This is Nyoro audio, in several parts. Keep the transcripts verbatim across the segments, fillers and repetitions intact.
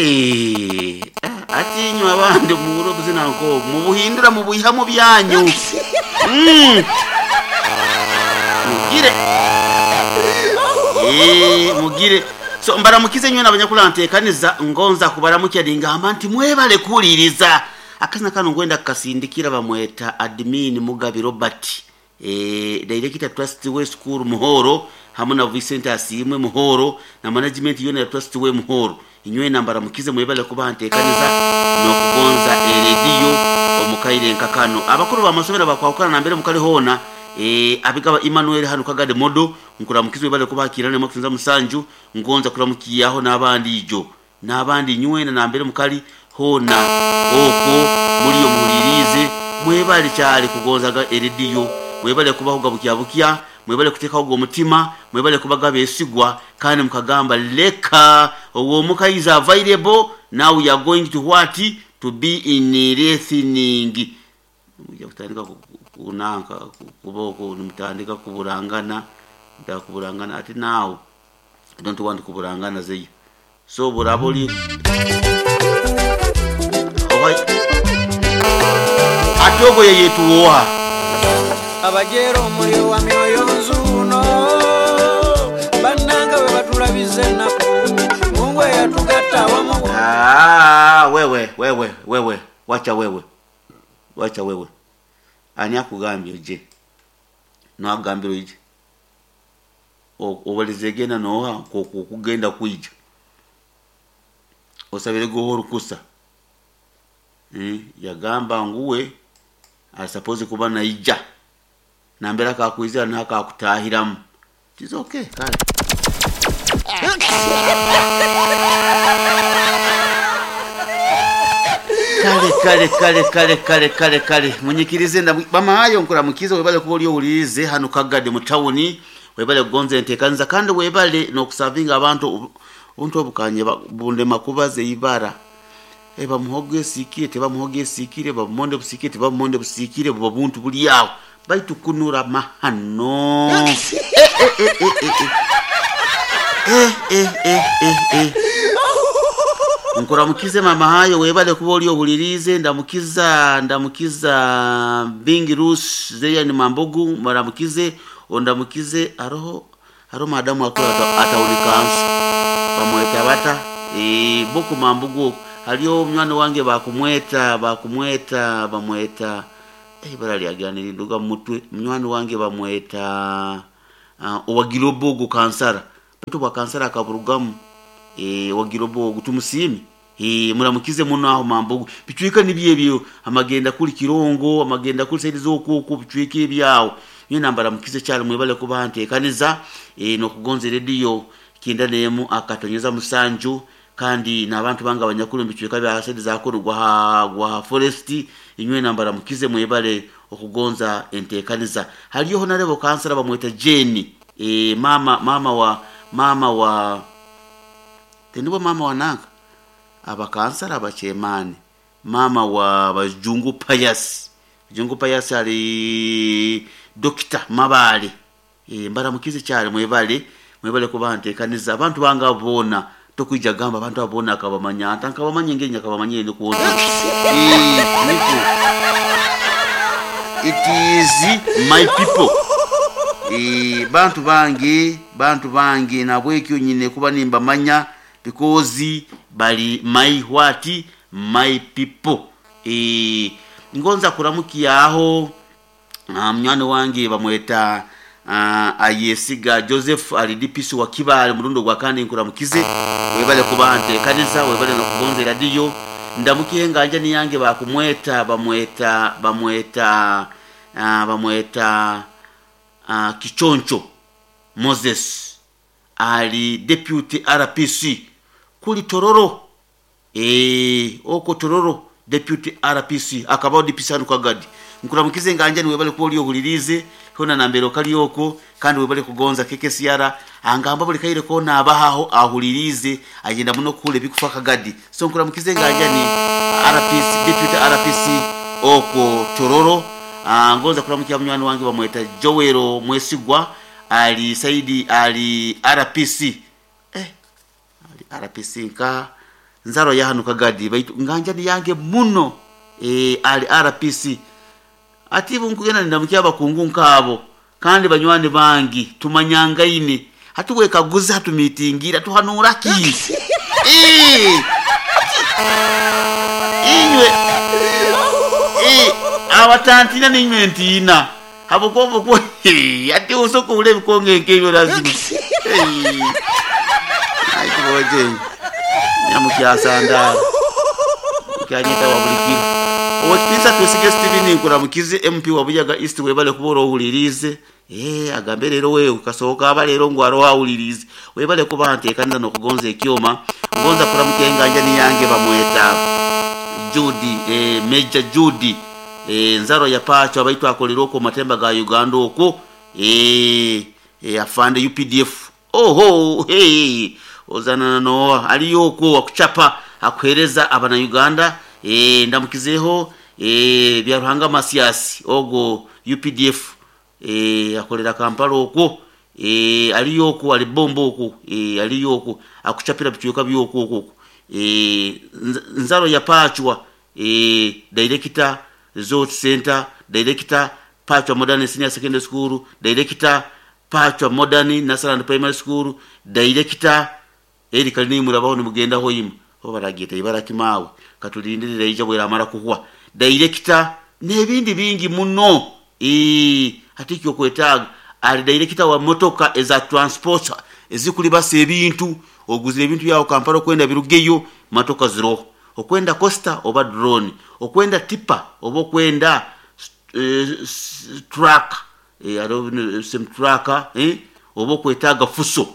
Eh, atinywa abandi muhuro obuzina nk'obu mubuhindura mubuiha mu byanyu. Mm. Mugire. Eh, mugire. So mbaramukize nywe n'abanyakulanteekaniza, ngonza kubaramukya ningamba nti mwebale kuwuliriza. Akazina kano ngwenda kukasindikira, bamweta admin Mugabi Robert, eh, director Trust Way School Muhoro, hamwe na Vincent Asiimwe Muhoro na management yona ya Trust Way Muhoro. Inywe nambaramukize, mwebale kuba nteekaniza n'okugonza erediyo omukaire nkakano. Abakuru b'amasomero bakwahukana nambere mukali hoona, eh, abigaba Emmanuel hano Kagade Modo, nkuramukize, webale kubakirana makusinza musanju. Ngonza kuramukiyaho n'abandi ijo n'abandi nywena nambere mukali hona okwo muliyo muhulirize. Mwebale kyali kugonzaga erediyo, mwebale kubahuga bukya bukya, mwebale kuteekaho omutima, mwebale kubaga besigwa kandi mukagamba leka owomuka is available. Now we are going to what? To be in listening. Mujja kutandika kunanka kuboko, nimutandika kuburangana, mutaka ati now I don't want kuburangana zeyo. So buraba oli ate ogwo ye yetuwoha. Abajera omuliro wa myoyo nzuuno, bannanga bwe batulabiza ennaku, Mungu eyatugatta awamu. Ah, wewe wewe wewe, wacha wewe, wacha wewe. Ani akugambye oje? Nagambira oije obalize genda noha kugenda kwija osabire goho orukusa. Eh, yagamba nguwe asapoze kuba naija nambera akakwizira nakakutahiramu. It's okay, kale. Kale kale kale kale kale kale kale, munyikirize bamahayo nkuramukize, webale kuba oli owulirize hano Kagade mu tawuni, webale kugonza enteekaniza kandi webale n'okusavinga abantu. Obuntu obukanye bundema kubaza eibara. Bamuhogo esiikire, tebamuhogo esiikire, babumonde busiikire, tebabumonde busiikire, buba buntu buli awo baitu kunura mahano. Eh, eh, eh, eh, eh, eh. Eh, eh, eh, eh. Nkuramukize mama hayo, webale kuba oli owulirize. Ndamukiza ndamukiza Bingi Rus zeya ni Mambugu, muramukize ondamukize. Aroho haro madamu akora atawulikansu bamweta bata e, boku Mambugu. Haliyo mwana wange bakumweta bakumweta bamweta eh, ibara lyaganira nduga mutwe. Mwana wange bamweta uh, owagirobogo kansara baitu bwa kansara akaburugamu. eh, wagirobogo tumusiime. Eh, muramukize muno aho Mambugu. Bicwika nibyo ebyo, amagenda kuli Kirongo, amagenda kuli saidi z'okwokwo, bicwika ebyawo. Nyo nambara mukize kyali, mwebale kuba nteekaniza eh, n'okugonza rediyo kinda nemu akatonyeza musanju. Kandi n'abantu banga abanyakuru bicwika bya saidi zakuru gwa gwa forest, inywe nambara mukize, mwebale okugonza enteekaniza. Haliyo honarebo kansara bamweta Jane, eh, mama mama wa mama wa tendibo mama wa nanka abakansara abachemani, mama wa Bajungu Payas. Bajungu Payas ali Dokita Mabale. E, mbaramukize cyane, mwebale mwebale kuba nteekaniza. Abantu banga bona tokwija gamba abantu abona akabamanya anta nkabamanya ngenya akabamanya ni kuona. Eh, niko it is my people. E, bantu bange bantu bange nabwekyo nyine kuba nimbamanya because bali my what? My people. E, ngonza kuramukiyaho munywani wange bamweta uh, Ayesiga Joseph, ali D P C wa Kibale murundo gwa kandi nkuramukize, webale kuba nteekaniza, webale nokugonza radiyo. Ndamukiye nganja niyange bakumweta bamweta bamweta uh, bamweta uh, Kichoncho Moses, ali deputy R P C kuli Tororo. Eh, oko Tororo, deputy R P C akabaho D P C hano Kagadi. Nkuramukize nganja ni, webale kuba oli ohulirize hona nambere kali oko kandi webale kugonza K K C R. Angamba buli kaire kona abahaho ahulirize, agenda muno kule bikufa Kagadi. So nkuramukize nganja ni R P C, deputy R P C oko Tororo. Ah, ngonza kuramukia munywani wange bamweta Joel Mwesigwa, ali saidi ali R P C, eh, ali R P C nka Nzaro ya hano Kagadi baitu nganjani yange muno eh, ali R P C ati bunkugenda ndamukia abakungu nkabo kandi banywani bangi tumanyangaine hatuwekaguza hatumitingira tuhanura ki eh inywe eh abatantina ninywe ntina habukombo ko ati usoko ule bikonge nkebyo lazima eh ai tuboje nyamukyasanda kyanyita wabulikira owekitiisa Twesige Steven nkuramukize M P wa Buyaga East webale kuba owulirize eh agambe rero wewe kasohoka aba rero ngo aro awulirize webale kuba ntekanza no kugonza ekyoma ngonza kuramukenga nja niyange bamweta Judy eh, Major Judy eh, nzaro ya pacho abaitwa akolera okwo matemba ga Uganda okwo eh, eh, afande U P D F oho hey ozana no aliyo okwo akuchapa akuhereza abana Uganda eh, ndamukizeho eh, bya Ruhanga Masiasi ogo U P D F eh, akolera Kampala okwo eh, aliyo okwo ali bombo okwo eh, aliyo okwo akuchapira bichuka byokwo okwo eh, nzaro ya pachwa eh, director Resort Center, director Pachwa Modern Senior Secondary School, director Pachwa Modern National Primary School, director eri kalini murabaho nimugenda hoyima ho baragita ibara kimawe katulindirira ija bwera amara kuhwa director nebindi bingi muno eh hatikyo kwetaga ali director wa motoka eza transport ezikuli base ebintu oguzira ebintu yawo Kampala kwenda birugeyo matoka zero okwenda costa oba drone okwenda tipa oba okwenda eh, truck eh aro sem truck eh oba okwetaga fuso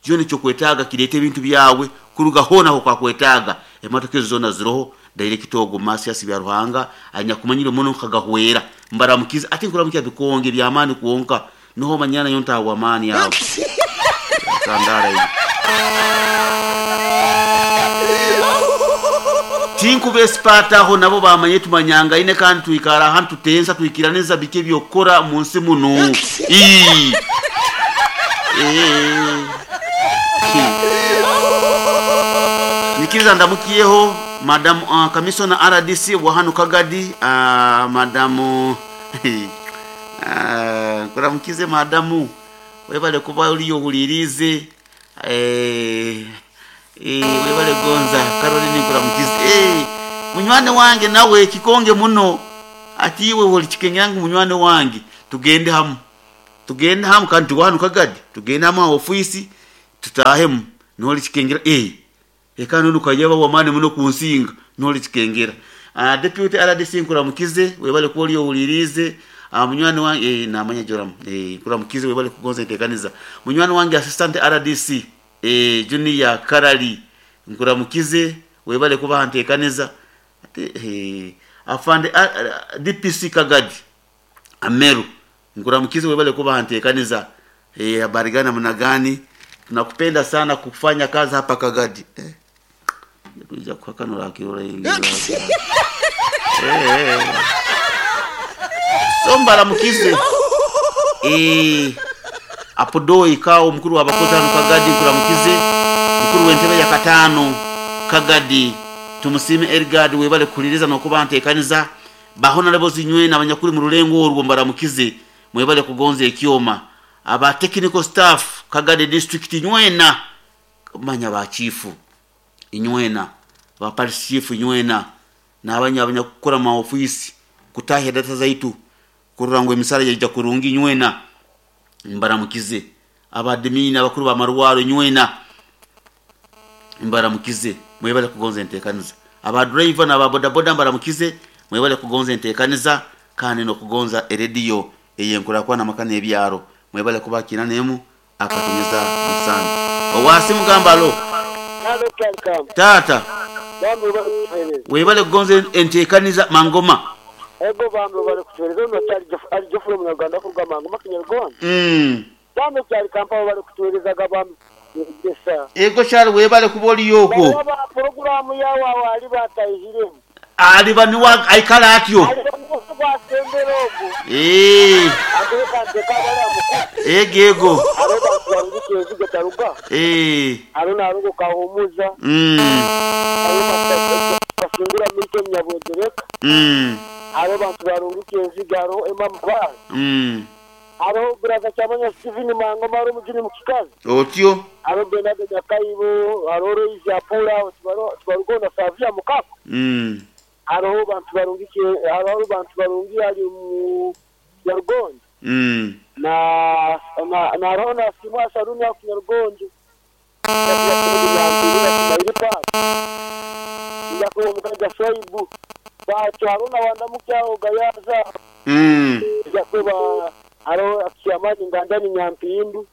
joni cyo kwetaga kirete ebintu byawe kuruga hona ho kwakwetaga emotoka ezo zona ziroho director ogo Masiasi bya Ruhanga anyakumanyire muno kagahwera mbaramukiza ati nkuramukiza bikonge bya mani kuonka niho manyana yonta wa mani yawe sandara iyi Tinku besipata aho nabo bamanye tumanyanga ine kandi tuikara hantu tensa tuikiraneza bike byokora munsi muno ii eh Nikiza ndamukiyeho madam uh, commissioner R D C wa hano Kagadi uh, madam uh, kuramukize madamu webale kuba uliyo hulirize eh eh webale gonza Caroline kuramukize eh munywane wange nawe kikonge muno ati iwe holi chikenyangu munywane wange tugende hamu tugende hamu kandi tuwanu Kagadi tugende hamu ofisi tutahemu noli chikengera eh ekano nukajaba wamane muno kunsinga noli chikengera uh, deputy R D C nkuramukize webale kuoli ulirize uh, munywani wange eh, namanya joram eh nkuramukize webale kugonza intekaniza munywani wange assistant R D C eh junior Karali nkuramukize webale kuba ntekaniza ate eh afande uh, D P C Kagadi Ameru nkuramukize webale kuba ntekaniza eh habari gani mna gani tunakupenda sana kufanya kazi hapa Kagadi eh kuja kwa kanura kiora ingi eh somba mukize eh apodoi kao mkuru wa bakozi hano Kagadi nkuramukize mkuru wentebe ya katano Kagadi tumusime Ergad webale kuliriza no kuba ntekaniza bahona lebo zinywe n'abanyakuri mu rulengo orwo mbaramukize mwebale kugonza ekyoma aba technical staff Kagadi district nywena manya ba chifu inywena ba parish chief inywena n'abanya abanyakukora ma office kutahya data zaitu kurangwa emisara yaija kurungi nywena mbaramukize abadmin abakuru ba marwaro nywena mbaramukize mwebale kugonza entekaniza aba driver na boda boda mbaramukize mwebale kugonza entekaniza kandi no kugonza eredio eyenkura kwa namakana ebyaro mwebale kubakina nemu akatunyeza musana owasi mugambalo tata webale kugonza entekaniza mangoma ego bambe bali kutueleza no cyari ari jofure mu Uganda kuruga mangoma kinyarwanda mm bambe cyari kampala bali kutueleza gabambe gesa ego cyari webale kuboli yoko baba programu yawa wali batayihiremo ali bani wa aikala atyo ali Ogwasembera ogu. Eh, Ateeka nteeka abali ego ego. Hariho bantu barungi enzige taruga. Eh, Hariho narugo kahumuza. mm, Hariho basingura Milton Nyabwedereka. mm, Hariho bantu barungi enzige hariho Emma Mabara. mm. Hariho Brother Kyamanya Steven Mangoma hariho Mujuni Mukikazi. Otyo. Hariho Bernard Nyakaibo, hariho Roise Apula, tubarugo na Savia Mukako. Mm. Hariho bantu barungi hariho bantu barungi ali mu Nyarugonjo. Mm. Na na na hariho na Simwa Saruni ya Nyarugonjo. Yakuwa Swaibu. Bacho hariho na wandamukyaho Gayaza. Mm. Yakuba hariho Akiamani Ngandani Nyampindu.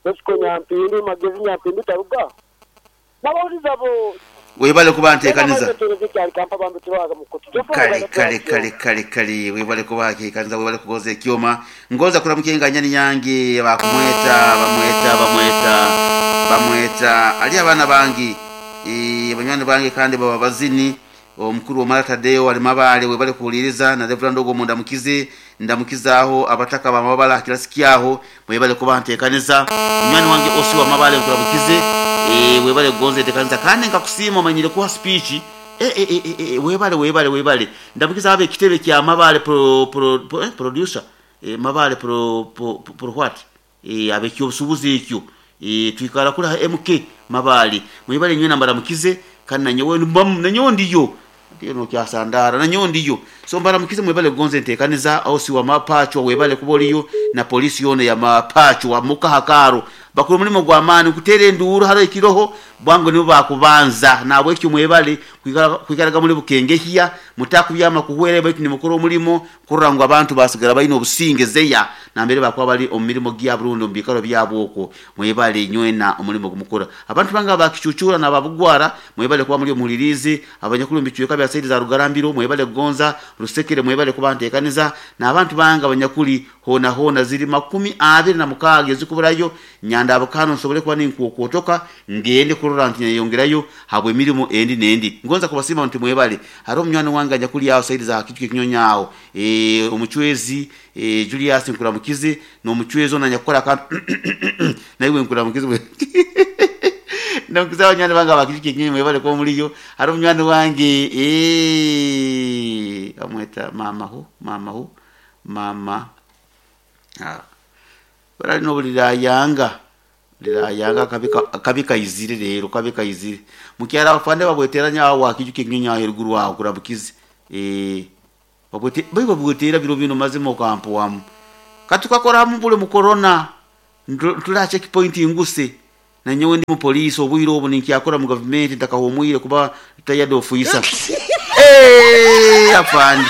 Bosco Nyampindu, Magezi Nyampindu taruga. Nabawuliza bo Webale kuba nteekaniza. Kale Kale kale kale kale kale webale kuba nteekaniza webale kugoza ekyoma ngoza kulamuka enganyani yange bakumweta bamweta bamweta bamweta ali abaana bange eh banywani bange kandi baba bazini omukuru Omara Tadeo ali mabale webale kuwuliriza na Reverend Ogo mundamukize ndamukizaaho abataka bamabala kirasikiaho mwebale kuba nteekaniza munywani wange osi wa mabale nkulamukize eh webale kugonza enteekaniza kandi nkakusiima omanyire kuha speech. Eh, eh, eh, eh, webale webale webale ndamukiza abe ekitebe kya mabale pro, pro, pro, eh, producer eh, mabale pro, pro, pro, pro what eh, abe kyobusubuzi ekyo eh, twikala kula M K mabale mwebale nywe nambara mukize kandi nanyowe nanyowe ndiyo ndiyo no kyasandara nanyowe ndiyo so mbara mukize mwebale kugonza enteekaniza au si wa mapacho webale kuboliyo na polisi yone ya mapacho wa mukahakaro bakuru mulimo gwa amani kutere enduuru haro ekiroho bwangu nibo bakubanza nabwe ekyo mwebale kwikaraga muri bukengehya mutakubyama kuhwere baitu nimukora omulimo kurora ngu abantu basigara balina obusinge zeya nambere bakuba bali omu mirimo gya Burundi omu bikaro byabo okwo mwebale nywena omulimo gumukora abantu banga bakicucura nababugwara mwebale kuba muri omulirizi abanyakuru mbicweka bya saidi za Rugarambiro mwebale kugonza Rusekere mwebale kuba nteekaniza n'abantu banga abanyakuli hona hona ziri makumi abiri na mukaaga ezikuburayo nyanda abakano nsobole kuba ninkuokotoka ngende kurora nti nyeyongerayo habwe emirimu endi nendi ngonza kubasima nti mwebale hariho omunywani wange anyakuli aho saidi za Kijuke Kinyonyi aho eh omuchwezi eh Julius Nkuramukize n'omuchwezi ono anyakukora akantu naiwe Nkuramukize ndamukiza abanywani bange abakijuke Kinyonyi mwebale kuba muliyo hariho omunywani wange eh amweta mama ho mama ho mama ah barali nobulirayanga lirayanga kabika kabika izire rero kabika izire mukyara afande babweteranya awo Akijuke Kinyonyi aho eruguru aho kurabukize eh babwete bai babwetera biro bino mazima okampo wamu katukakora mu bule mu corona ntula checkpoint inguse na nyowe ndi mu police obwiro obu ninkyakora mu government ndakahomwire kuba tayado ofisa eh afande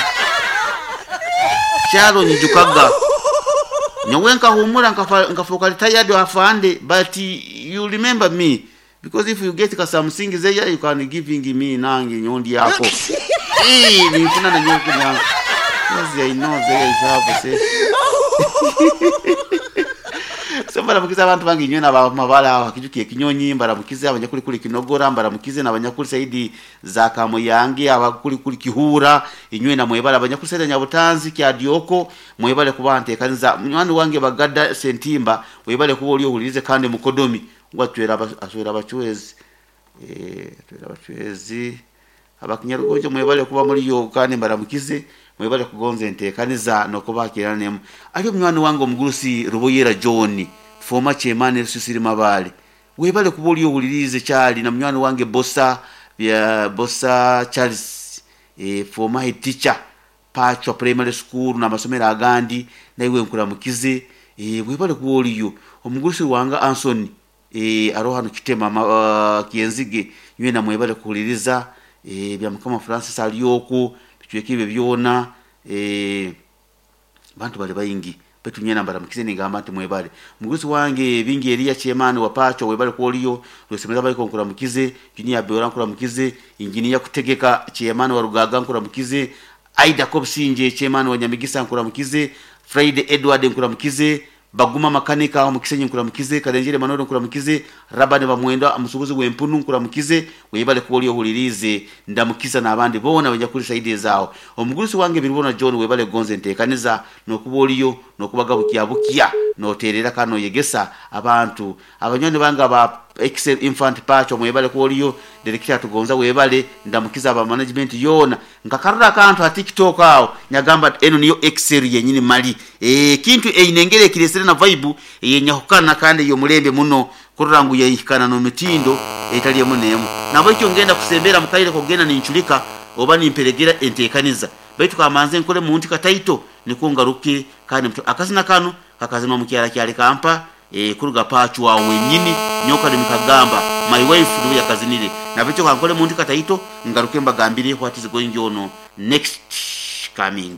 kyalo nyijukaga nyowe nkahumura nkafuka retired afande but you remember me because if you get something there you can giving me nange nyondi yako eh nifuna na nyoku nyangu yes I know there is have say so mbaramukiza abantu bangi nywe na mabala aho Akijukiye Kinyonyi mbaramukize abanyakuri kuri Kinogora mbaramukize n'abanyakuri saidi za Kamuyange abakuri kuri Kihura inywe na mwebale abanyakuri saidi Nyabutanzi kya Dioko mwebale kuba nteekaniza munywani wange Bagada Sentimba webale kuba oli ohulirize kandi mukodomi ngwatwera aswera abachwezi eh twera abachwezi abakinyarugonjo mwebale kuba muri yo kandi mbaramukize mwebale kugonza enteekaniza nokubakiranemu ali omunywani wange omugurusi Ruboyera John former chairman Rusisiri Mabale webale kuba oli ohulirize kyali na munywani wange Bosa bya Bosa Charles eh, former head teacher Pachwa Primary School n'amasomero agandi naiwe nkuramukize eh, webale kuba oliyo omugurusi wanga Anson eh, aroho hano Kitema uh, Kienzige nywe na mwebale kuhuliriza eh, bya Mukama Francis aliyoko bicweka ebyo byona eh, bantu bali bayingi betu nyena mbaramukize nigamba nti mwebale muguzi wange bingi Elia Chemani wa Pacho webale kuoliyo lwesemeza bali konkuramukize junior Beora nkuramukize engineer kutegeka Chemani wa Rugaga nkuramukize Aida Kobsinje Chemani wa Nyamigisa nkuramukize Friday Edward nkuramukize Baguma makanika aho mukisenyi nkuramukize. Kalenjere Manoro nkuramukize. Rabani Bamwenda amusubuzi w'empunu nkuramukize. Webale kuba oli ohulirize. Ndamukiza n'abandi boona bajja kuli saidi zaawo. Omugurusi wange Biribona John, webale gonze nteekaniza n'okuba oliyo n'okubaga bukya bukya noterera kandi noyegesa abantu. Abanywani bange aba Excel Infant Patch, mwebale kuba oliyo. Direkita Tugonza webale. Ndamukiza aba management yoona. Nkakarura akantu ha TikTok awo nyagamba eno niyo Excel yenyini mali e, kintu einengere ekiresere na vibe yenyahukana kandi yomulembe muno kurora ngu yayihikana n'omitindo etali emu n'emu. Nabwekyo ngenda kusembera mukaire kugenda ninculika oba nimperegera enteekaniza, baitu kamanze nkole muntu kataito nikwo ngaruke. Kandi mtu- akazina kano kakazinwa mukyala kyali kampa e, kuruga pachu wawe wenyini nyoka nimukagamba my wife niwe yakazinire. Nabwekyo kankole muntu kataito ngaruke mbagambire what is going on next coming.